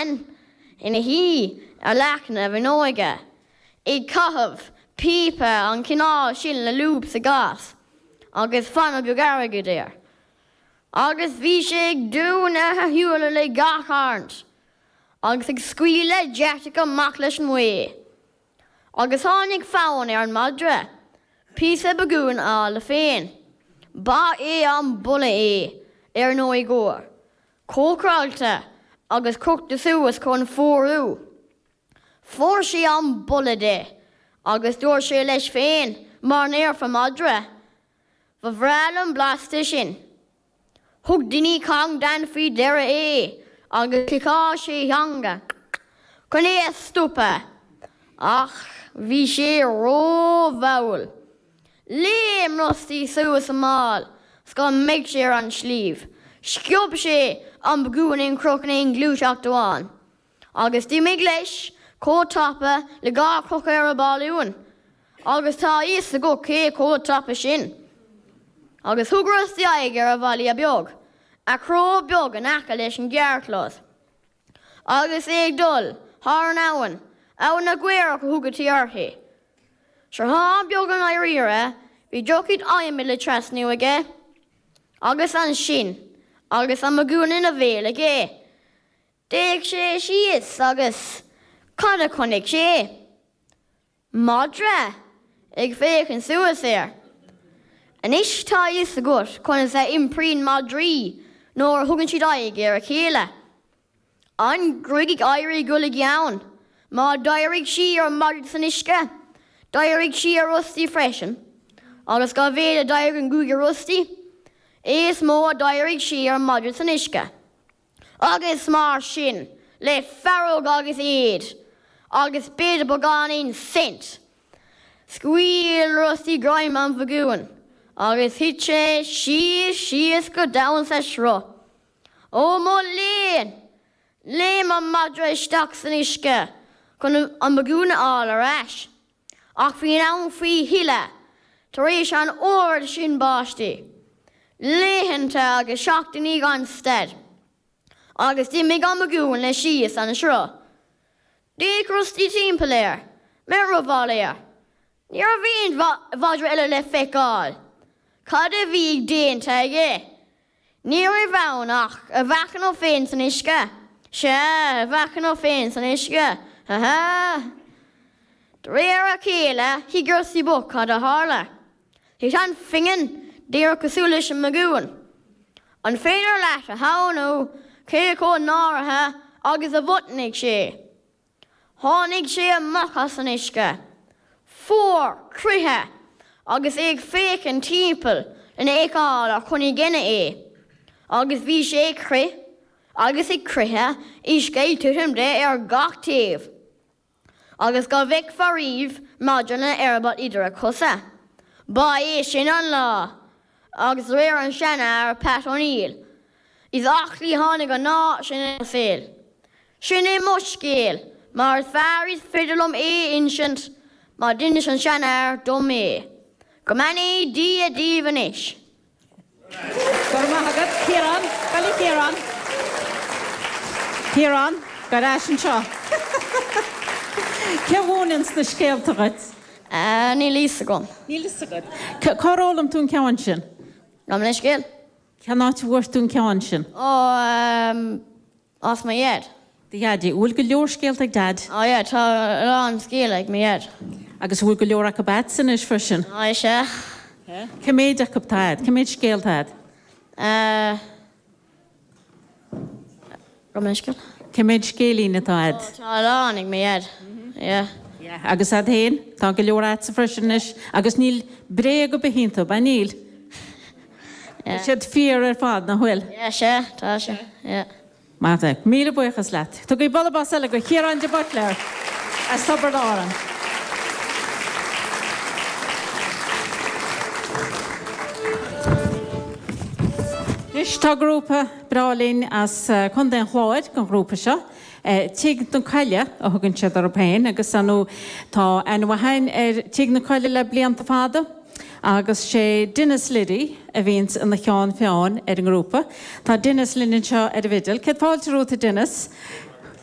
bhean ina shuí ar leac na bhfuinneoige ag caitheamh píopa an cineál sin le lúb sa ghas agus fuinneog beag airgid air. Agus bhí sé ag dúnadh a shúile le gach arraint agus ag scaoileadh deatach amach leis an mbaoth. Agus tháinig fonn ar an madra píosa bagúin a fháil dó féin. Ba é an boladh é, ar ndóigh óir, cócaráilte agus crochta suas chun fuarú. Fuair sé an boladh de agus dúirt sé leis féin, mar a ndéarfadh madra, Ba bhreá liom blas de sin. Thug Dinny Cong Dan faoi deara é agus chliceáil sé a theanga chun é a stopadh ach bhí sé rómhall. Léim Rusty suas an ball 's go mbeadh sé ar an sliabh. Sciob sé an bagún in chroch in aon ghluaiseacht amháin. Agus d'imigh leis chomh tapa le dhá chrochadh ar balún, agus tá a fhios agat cé chomh tapa sin. Agus thug Rusty aghaidh ar a bhaile beag, a chró beag in aice leis an gcarrchlós. Agus é ag dul thar an abhainn, Abhainn na gCaorach a thugaití uirthi. Sruthán beag i ndáiríre, bhí droichead adhmaid le trasnú aige. Agus ansin, agus an bagún ina bhéal aige, D'fhéach sé síos agus cad a chonaic sé? Madra ag féachaint suas air. Anois tá a fhios agat conas a iompraíonn madraí nuair a thugann siad aghaidh ar a chéile. An ghruaig ag éirí dul i gceann. Má d'éirigh sí ar an madra san uisce, d'éirigh sí ar Rusty freisin. Agus dá mhéad a d'éirigh an ghruaig ar Rusty, is mó a d'éirigh sí ar an madra san uisce. Agus mar sin, le fearg agus éad, agus b'fhéidir beagáinín saint, scaoil Rusty greim an bhagúin agus thit sé síos, síos go domhain sa sruth. Ó mo léan! Léim an madra isteach san uisce chun an bagún a fháil ar ais. Ach bhí an abhainn faoi thuile tar éis an oiread sin báistí, laethanta agus seachtainí gan stad, agus d'imigh an bagún leis síos an sruth. D'fhéach Rusty timpeall air, mearbhall air. Ní raibh aon mhadra eile le feiceáil. Cad a bhí déanta aige? Ní raibh ann ach a mheáchan féin san uisce. Sea, a mheáchan féin san uisce. Ha ha! De réir a chéile, thuig Rusty bocht cad a tharla. Thit an phingin díreach cosúil leis an mbagún. An féidir leat a shamhlú cé chomh náirithe agus a mhotnaigh sé? Tháinig sé amach as an uisce, fuar croíthe, agus é ag féachaint timpeall lena fheiceáil ar chonaic éinne é, agus bhí sé ag crith agus ag croitheadh, uisce ag titim de ar gach taobh, agus go bhfeicfeá riamh madra lena eireaball idir a chosa. Ba é sin an lá, agus de réir an seanfhear, Pat O'Neill, is aclaí a tháinig an lá sin ina saol. Sin é mo scéal, mar is fearr is féidir liom é a insint, mar d'inis an seanfhear dom é. Go mbeannaí Dia daoibh anois. Go raibh maith agat, Ciarán. Gabh i leith, Ciarán. Ciarán, gabh ar ais anseo. Cé a mhúineanns na scéalta dhuit? Níl a fhios agam. Níl a fhios agat. Cár fhoghlaim tú an ceann sin? Gabh mo leithscéal. Cén áit a bhfuair tú an ceann sin? Ó, as mo dhaid. Do dhaidí. An bhfuil go leor scéalta ag Daid? Ó yeah, tá a lán scéal ag mo dhaid. Agus an bhfuil go leor acu agatsa anois freisin? Ó sea. Cé méid acu atá agat? Cé méid scéal atá agat? Eh. Gabh mo leithscéal. Cé méid scéilín atá agat? Ó, tá a lán ag mo dhaid. Yeah. Yeah. Agus agat féin? Tá go leor agatsa freisin anois. Agus níl bréag ar bith iontu, ab ea? Níl. Yeah. Tá siad fíor ar fad, nach bhfuil? Yeah, sea, tá sé. Yeah. Maith thú. Míle buíochas leat. Tugaigí bualadh bos eile do Chiarán de Buitléar as Tiobraid Árann. Anois tá grúpa breá linn as Contae an Chláir den ghrúpa seo. Tigh na Coille a thugann siad orthu féin agus ar ndóigh tá aithne mhaith againn ar Tigh na Coille le blianta fada. Agus sé Denis Liddy a bhíonns ina cheann feadhain ar an ngrúpa. Tá Denis linn anseo ar an bhfidil. Céad fáilte romhat a Denis.